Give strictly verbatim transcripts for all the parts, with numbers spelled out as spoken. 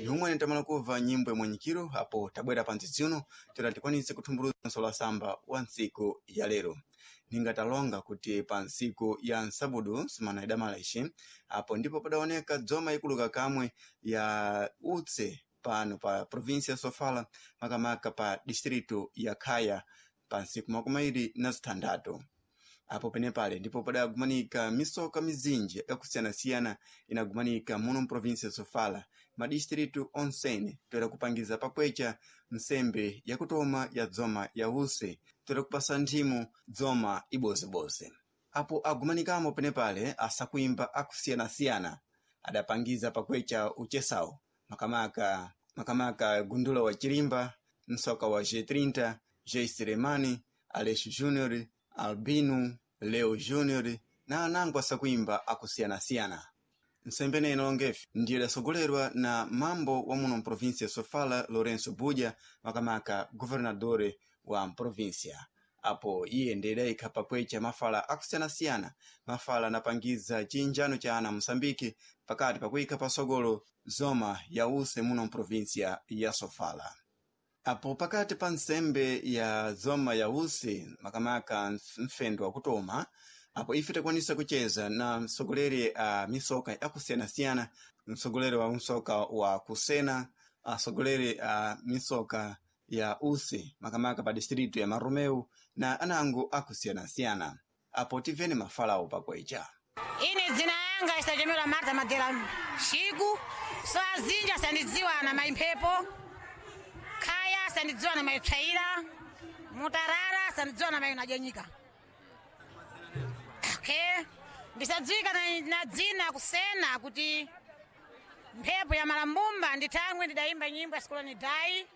Yomwe tamala kuva nyimbo imwenyikiro apo tabwera pa ntsitsi uno toera tikwanise kuthumbuluza nsola samba wa ntsiku ya lero. Ningatalonga kuti pa ntsiku ya nsabudu sumana idamala ici apo ndipo padaoneka dzoma ikuluka kamwe ya utse pano pa província ya Sofala, makamaka pa distrito ya Khaya, pa ntsiku makumi awiri na zitandatu. Apo penepale ndipo padagumanika misoka mizinji yakusiyanasiyana inagumanika muno mprovinsia ya Sofala, madistritu onsene, toera kupangiza pakwecha nsembe yakutoma ya dzoma ya use, toera kupasa nthimu dzoma ibozeboze. Apo agumanikamo penepale asakuimba akusiyanasiyana adapangiza pakwecha uchesawo, makamaka makamaka gundula wa Chirimba, msoka wa G trinta, G Selemani, Aleixo Júnior, Albino, Leo Júnior na anango asakuimba akusiyanasiyana. Nsembe inalongefe ndiye idasogolerwa na mambo wa muno mprovinsia ya Sofala, Lourenço Buja, makamaka governadore wa mprovinsia. Apo iye ndiye idayikha pakwecha mafala akusiyanasiyana, mafala anapangiza chinjano cha ana Moçambique pakati pakuyikha pasogolo zoma ya use muno mprovinsia ya Sofala. Apo pakati pa nsembe ya zoma ya usi, makamaka mfendo wakutoma, apo ife takwanisa kucheza na msogoleri a misoka yakusiyanasiyana, msogoleri wa msoka wa kusena, asogoleri a misoka ya usi makamaka pa distritu ya Marumeu na anango akusiyanasiyana. Apo tivene mafalawo pakwecha. Ine dzina yanga isachemera Marta Madera Shiku. So azinja sandidziwa na maimphepo, Khaya sandidziwa na maipsaira, Mutarara sandidziwa na mainajanyika. Okay, ndisadziwika na, na dzina kusena kuti mphepo ya malambumba ndithangwe ndidayimba nyimbo ya sikoloni dai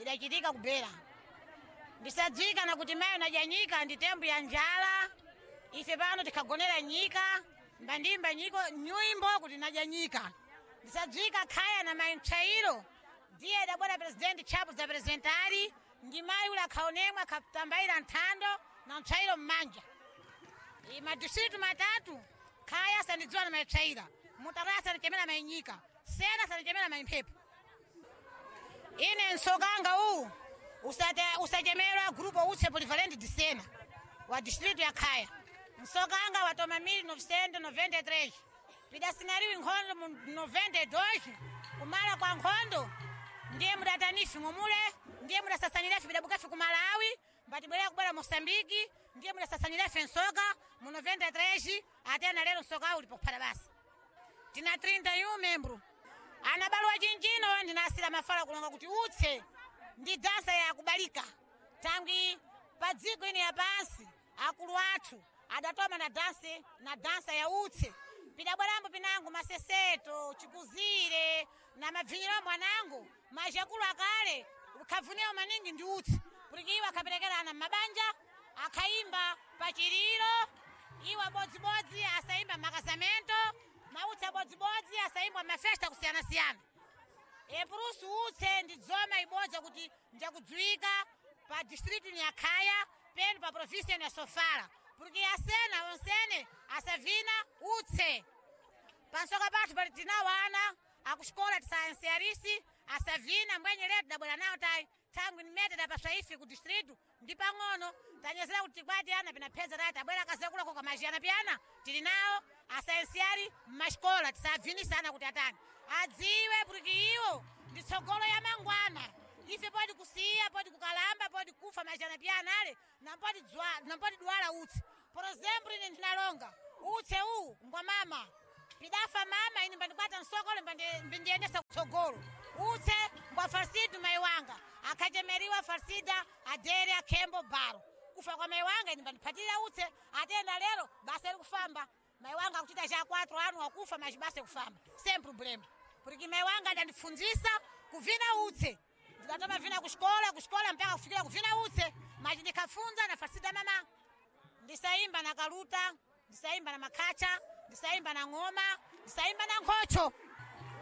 idachitika kubera. Ndisadziwika na kuti mayi unajanyika ndi tembo ya njala, ife pano tikhagonera nyika mbandimba nyiko nyimbo kuti najanyika. Ndisadziwika Khaya na mayi mtchairo ndiye idabwera presidenti Chapo za presidentari ndi mayi ula akhaonemwe akhatambayira nthando na mtchairo mmanja. I madistritu matatu: Khaya sandidziwa na maipsaira, Mutarara sandichemera mainyika, Sena sandichemera maimphepo. Ine msokanga uwu usate- usachemerwa grupo utse Polivalente de Sena wa distritu ya Khaya. Msokanga watoma mil novecentos e noventa e três, pidasinariwi nkhondo mu noventa e dois. Kumala kwa nkhondo ndiye mudatanifi ng'omule, ndiye mudasasanirafe pidabukafe ku Malawi, mbatibwerera kubwera Moçambike, ndiye mudasasanirafe nsoka mu noventa e três. Atena lero msoka uli pakuphata basa, tina trinta e um membro anabaluwa chinchino. Ndinasira mafala kulonga kuti utse ndi dansa ya kubalika tangwi pa dziko ine ya pansi. Akulu athu adatoma na dansi na dansa ya utse, pidabwerambo pinango maseseto chikuzire na mabvinyirombo anango majakulu akale khavuniwa maningi ndi utse, kuti iwo akhaperekerana m'mabanja, akhaimba pachiliro iwo abodzibodzi, asaimba makasamento mautsi abodzibodzi, asaimbwa mafesta kusiyanasiyana. Epurusu utse ndi dzoma ibodza kuti njakudziwika pa distritu ya Khaya penu pa província ya Sofala, porque asena onsene asavina utse. Pansoka pathu pali tinawo ana akuxikola tisayansiarisi asavina mbwenye letu dabwera nawo tayi thangwi nimete dapaswa ife ku distritu ndi pang'ono tanyezera kuti tikwati ana pinapheza tayi tabwera akazekulako kamazhiyana piyana tili nawo asayansiari mmaxikola tisabvinisa ana kuti atani adziwe, porque iwo ndi tsogolo ya mangwana. Ife poti kusiya, poti kukalamba, poti kufa mazhana piyana ale nampoti dzwa- nampoti dwala utsi. Por exemplo, ine ndinalonga utse uwu ngwa mama, pidafa mama, ine mbandikwata msokolo mbindiyendesa kutsogolo. Utse ngwa Farsidu mai wanga akhachemeriwa Farsida Adere Akhembo Baro. Kufa kwa mai wanga ine mbandiphatira utse, atenda lero basa iri kufamba. Mai wanga akuchita cha quatro anu akufa, mas basa ikufamba sem problema, porque mai wanga adandifundzisa kuvina utse. Ndidatoma vina kuxikola kuxikola mpaka kufikira kuvina utse, mas ndikhafunza na Farsida mama. Ndisaimba na kaluta, ndisaimba na makhacha, ndisaimba na ng'oma, ndisaimba na nkhocho,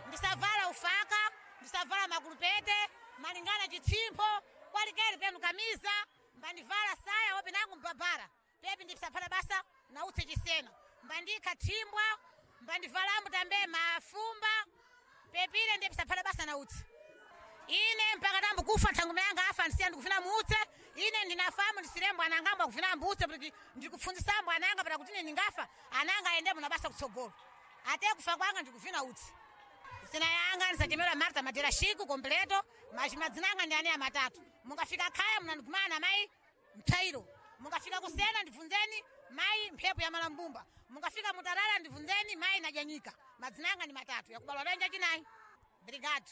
ndisavala ufaka, ndisavala makulupete malingana chitsimpho kwalikeli penu kamiza mbandivala saya ope nangu mbabara pepi ndisaphata basa na utse chisena. Mbandika thimbwa, mbandivalambo tambe mafumba, pepile ndiye pisaphala basa na utsi. Ine mpaka tambo kufa thangume yanga afa ndisiya ndikufina muutse. Ine ndinafamu ndisirembo anangamba kufina mbutse kuti ndikufundisa ananga para kuti ine ndingafa ananga aende muna basa kutsogolo. Ate kufa kwanga ndikufina utsi. Zina yanga ndisachemera Marta Madera Shiku completo, machimadzina anga ndi ane amatatu. Mungafika khaya munandikumana mai Mthairo. Mungafika kusena ndibvunzeni mai mphepo ya Malambumba. Mungafika mutarara ndibvunzeni mai Najanyika. Madzina anga ndi matatu yakubalwa lenja chinayi. Brigade.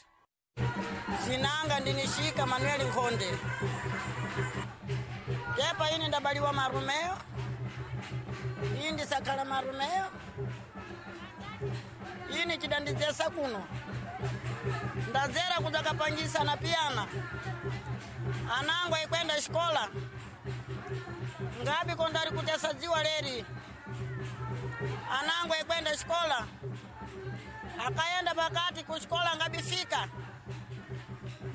Zinanga ndinishika Manuel Nkhonde. Kepa ini ndabaliwa Marumeo. Iyi ndisakhala Marumeo. Ini chidandidzesa kuno. Ndadzera kudzakapangisa na piyana. Anangu aikwenda xikola. Ngabi kondari kutesa dziwa leri. Anangu aikwenda xikola. Akaenda pakati kuxikola ngabifika.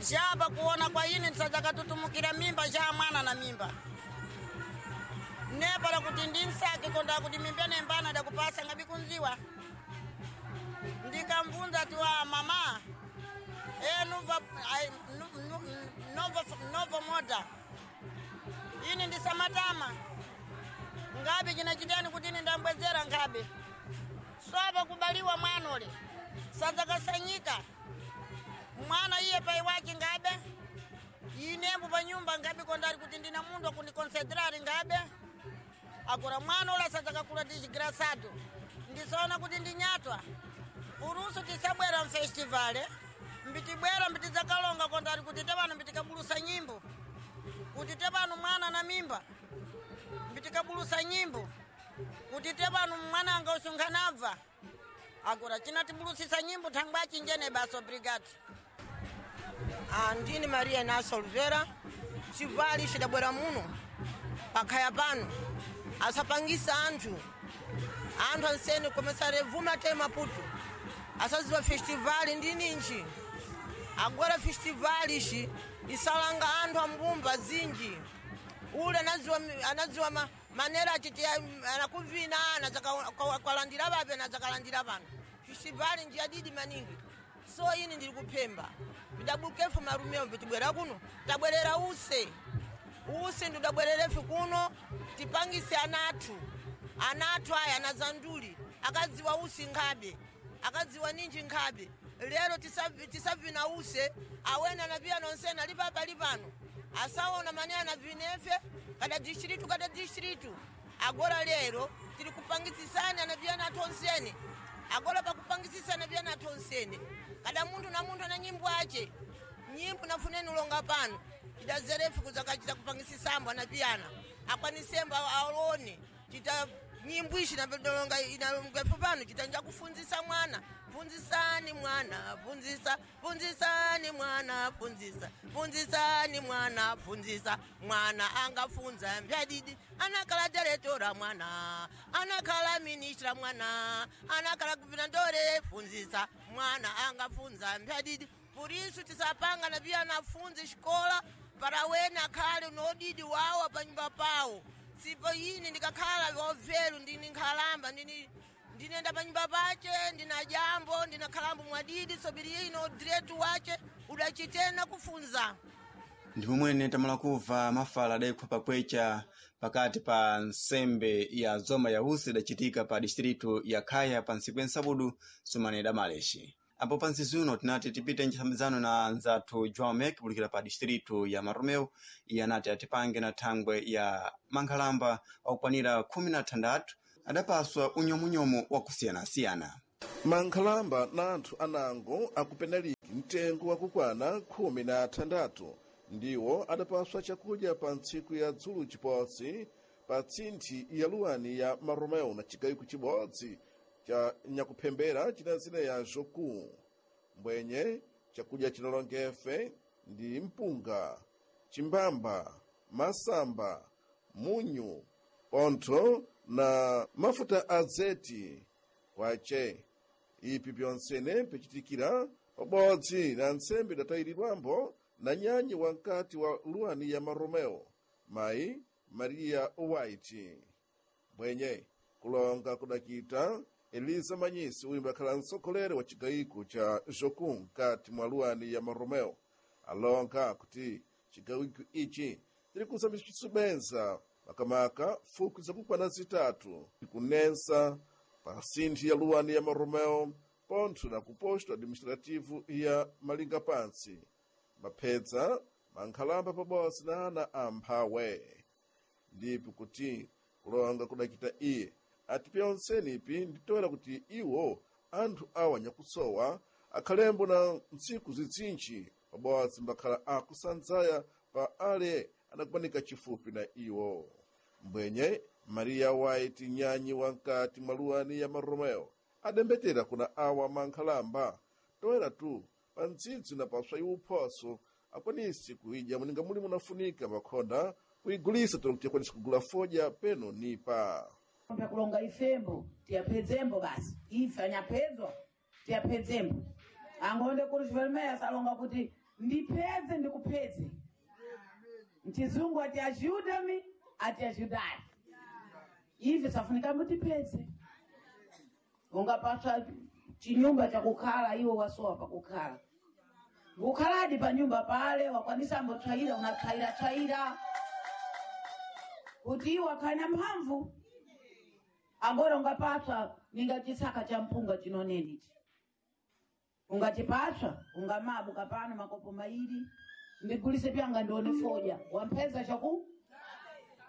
Jaba kuona kwa ini ndisadzakatutumukira mimba ja mwana na mimba. Nepala kuti ndinsake konda kuti mimba nembana dakupasa ngabi kunziwa. Ndikamvunza ati wa mama e nuva ai, nu, nu, novo, novo moda ini ndisamatama ngabi chinachitani kuti ini ndambwezera ngabi swava kubaliwa mwanole sadzakasanyika mwana iye pai wake ngabe inembo pa nyumba ngabe kondari kuti ndina mundu akundikonsentrari ngabe akura mwana ula sadzakakula tichigrasado ndisaona kuti ndinyatwa urusu tisabwera mfestivale mbitibwera mbitidzakalonga kondari kuti tevanu mbitikabulusa nyimbo kuti tevanu mwana na mimba mbitikabulusa nyimbo kuti tevanu mwana anga usunkhanabva akura chinatibulusisa nyimbo thangwa chinjene basa obrigado. Ah, ndini Maria Inacio Oliveira chivali chidabwera muno pakhaya pano asapangisa anthu anthu ansene komesare vuma te Maputo asaziwa festivali ndi ninji agora festivali ici isalanga anthu ambumba zinji ule anadziwa anadziwa ma, manera achiti anakuvina anadzakalandira vape anadzakalandira pano festivali njiyadidi maningi so ini ndili kuphemba pidabukefu marumeo pitibwera kuno tabwerera use use ndidabwererefu kuno tipangise anathu anathu aya anazanduli akadziwa usi nkhabe akadziwa ninji nkhabe lero tisavi- tisavina use awene anapiya nonsena ali papa ali pano asaona mane anavinefe kada distritu kada distritu agora lero tili kupangisisani anapiyana athu onsene agora pakupangisisana anapiyana athu onsene kada munthu na munthu ana nyimbo ache nyimbo nafuneni ulonga pano tidazerefu kuzakachita kupangisisambo anapiyana akwanisembo aone chita nyimbo ishi inalonga inalonga pano chitanja kufunzisa mwana funzisani mwana funzisa funzisani mwana funzisa funzisani mwana funzisa mwana angafunza mbyadidi anakhala diretora mwana anakhala ministra mwana anakhala guvernadore funzisa mwana angafunza mbyadidi purisu tisapanga na pia anafunze xikola para wene akhale nodidi wawo panyumba pawo sipo ine ndikakhala wovelu ndini nkhalamba ndini ndinenda panyumba pache ndina jambo ndina khalambo mwadidi sobiri ino diretu wache udachitena kufunza. Ndi pomwene tamala kubva mafala adayikhwa pakwecha pakati pa nsembe ya zoma ya usi idacitika pa distritu ya Khaya pa ntsiku ya nsabudu sumana idamaleshi. Apo pa ntsizi uno tinati tipite nchisambizano na nzathu João Mek kulikira pa distritu ya Maromeo. Iye anati atipange na thangwe ya mankhalamba okwanira khumi na thandatu adapaswa unyomunyomu wakusiyanasiyana. Mankhalamba na anthu anango akupenaliki mtengo wakukwana khumi na athandatu ndiwo adapaswa chakudya pa ntsiku ya dzulu chipotsi pa tsinthi ya luwani ya Maromeo na chigayiko chibodzi cha nyakuphembera china zina ya Joku. Mbwenye chakudya chinalongefe ndi mpunga, chimbamba, masamba, munyu, pontho na mafuta a zeti kwace. Ipi pyonsene pichitikira pabodzi na ntsembe idatayiridwambo na nyanyi wamkati wa luwani ya Maromeo, mayi Maria White. Bwenye Kulonga kudakita Eliza Manyisi uyu mbakhala mtsogoleri wa chigayiko cha Jocum mkati mwa luwani ya Maromeo alonga kuti chigayiko ichi tiri kusambisbenza makamaka fuku zakukwana zitatu kunensa pa sinthi ya luwani ya Maromeo pontho na kuposto administrativo ya Malinga Pansi maphedza mankhalamba pabodzi na ana amphawe. Ndipo kuti kulonga kudakita iye ati pyonsenipi nditoera kuti iwo anthu awa nyakusowa akhalembo na ntsiku zitsinji pabodzi mbakhala akusanzaya pa ale anakumanika chifupi na iwo. Mbwenye Maria White nyanyi wankati mwa luwani ya Maromeo adembetera kuna awa mankhalamba toera tu pa ntsitsi na paswa iwuphoso akwanisi kuidya muninga muli munafunika makhonda kuigulisa tolo kuti akwanisi kugula fodya peno nipa. Kulonga ifembo tiyaphedzembo basi ife anyaphedzwa tiyaphedzembo angonde kuri chivelumeya salonga kuti ndiphedze ndikuphedze mchizungu ati ajuda-me ati ajudai ife safunika mutiphedze ungapaswa chinyumba chakukhala iwe wasowa pakukhala ngukhaladi pa nyumba pale wakwanisa mbotswayira unatswayira tswayira kuti iwe akhale na mphamvu. Angora ungapaswa ninga chisaka cha mpunga chinonenichi ungachipaswa ungamabuka pano makopo mairi ndigulise pyanga ndione fodya wampeza chaku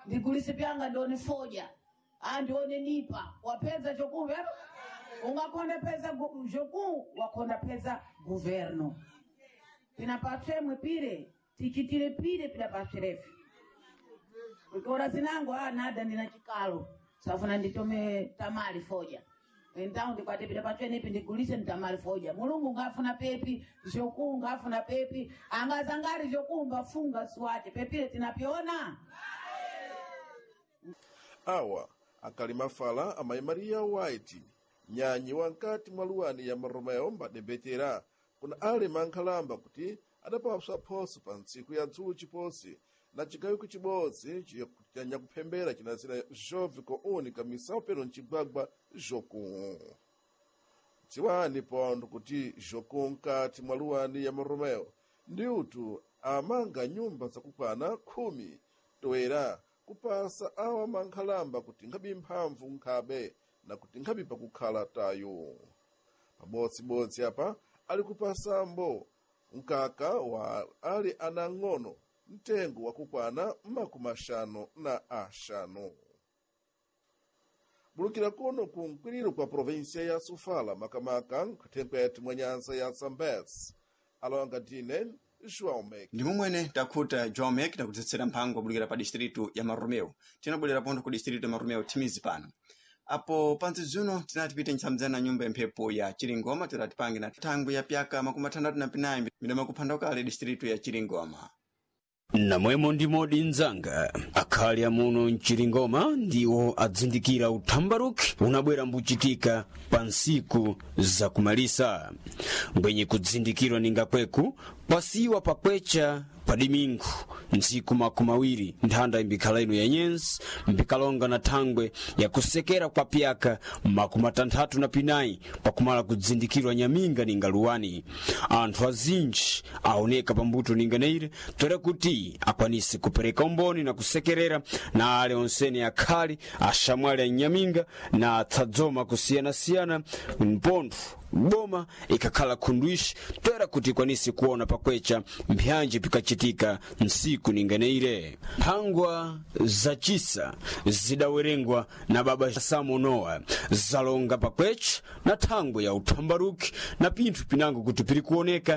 ndigulise pyanga ndione fodya andione nipa wapeza choku ungakonda peza joku wakonda peza governo pinapaswemwe pire tichitire pire pinapaswirefe ukiona zinango ah nada ndina chikalo safuna nditome tamali foja então ndikwate pita patswenepi ndigulise nditamali foja mulungu ngafuna pepi zvoku ngafuna pepi angazangari zvoku ngafunga siwate pepire tinapyona. Awa akali mafala amayi Maria White nyanyi wankati mwa luwani ya Maromeo mbadembetera kuna ale mankhalamba kuti adapaswa phoso pa ntsiku ya dzulo chiposi na chigawiko chibodzi chanyakuphembera chinazira jove koonika misawu peno mcigwagwa Jocum. Dziwani pontho kuti Jocum mkati mwa luwani ya Maromeo ndiutu amanga nyumba zakukwana khumi toera kupasa awa mankhalamba kuti nkhabe mphamvu nkhabe na kuti nkhabe pakukhala tayo. Pabodzibodzi apa ali kupasambo mkaka wa ali anang'ono mtengo wakukwana makumi axanu na axanu. Bulukira kuno ku mkwiriro kwa província ya Sofala makamaka nkhuthenkwethu mwa nyanza ya Zambezi alonga ndine João Mek. Ndi momwene takhuta João Mek takudzetsera mphango wabulukira pa distritu ya Marumeu. Tinabwerera pontho ku distritu ya Marumeu thimizi pano. Apo pantsi zuno tinati pite ntsamdzana nyumba ya mphepo ya Chilingoma tilati na thangwi ya pyaka makumi atandatu na pinayi midama kuphanda kale distritu ya Chilingoma. Namwemo ndimodi mnzanga akhali amuno mchilingoma ndiwo adzindikira uthambaruki unabwera mbuchitika pa nsiku zakumalisa mbwenye kudzindikirwa ningakweku pasiwa pakwecha padimingu ntsiku makumi awiri nthanda imbikhala ino ya nyenzi mbikalonga na thangwe yakusekera kwa pyaka makumi atanthatu na pinayi pakumala kudzindikirwa nyaminga ninga luwani. Anthu azinji aoneka pambuto ninganeire tora kuti akwanise kupereka umboni na kusekerera na ale onsene akhali axamwali a nyaminga na atsadzoma kusiyanasiyana mpontho boma ikakhala khundwishi toera kuti ikwanise kuona pakwecha mphanji pikachitika nsiku ninganeire. Mphangwa zacisa zidawerengwa na baba Samonoa zalonga pakwecha na thangwe ya uthambaruki na pinthu pinango kuti piri kuoneka